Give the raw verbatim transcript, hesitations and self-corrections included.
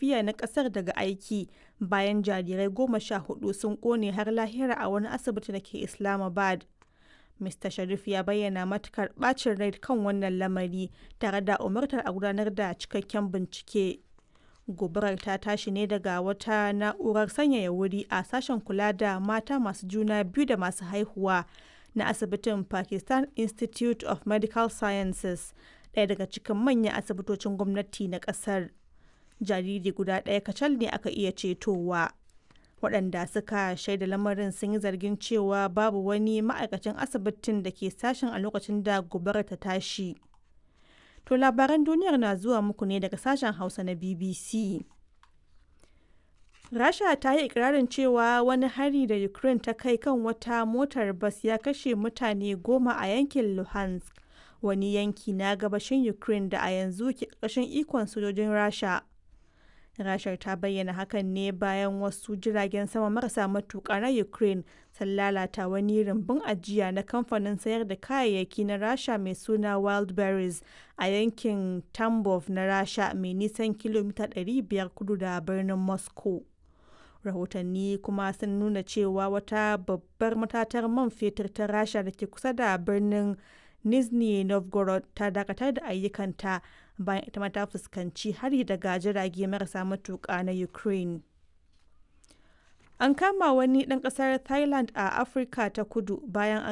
lafiya na kasar daga aiki bayan jarirai goma sha hudu sun kone har lahira a wani asibiti da ke Islamabad. Mr. Sharif ya bayyana matukar bacin rai kan wannan lamari tare da umartar a gudanar da cikakken bincike. Gobarar ta tashi ne daga wata na'urar sanyaya wuri a sashen kula da mata masu juna biyu da masu haihuwa na asibitin Pakistan Institute of Medical Sciences, ɗaya daga cikin manyan asibitocin gwamnati na ƙasar. Jariri guda ɗaya kacal ne aka iya cetowa. Waɗanda suka shaida lamarin sun yi zargin cewa babu wani ma'aikacin asibitin da ke sashen a lokacin da gobarar ta tashi. To labaran duniyar na zuwa muku ne daga sashen Hausa na B B C. Rasha ta yi ikirarin cewa wani hari da Ukraine ta kai kan wata motar bas ya kashe mutane goma a yankin Luhansk, wani yanki na gabashin Ukraine da a yanzu ke ƙarƙashin ikon sojojin Rasha. Rashar ta bayyana hakan ne bayan wasu jiragen sama marasa matuƙa na Ukraine sun lalata wani rumbun ajiya na kamfanin sayar da kayayyaki na Rasha mai suna Wildberries a yankin Tambov na Rasha, mai nisan kilomita ɗari biyar kudu da birnin Moscow. Rahotanni kuma sun nuna cewa wata babbar matatar man fetur ta Rasha da ke kusa da birnin Nizhny Novgorod ta dakatar da ayyukanta bayan ita ma ta fuskanci hari daga jirage marasa matuƙa na Ukraine. An kama wani ɗan ƙasar Thailand a Afirka ta Kudu bayan an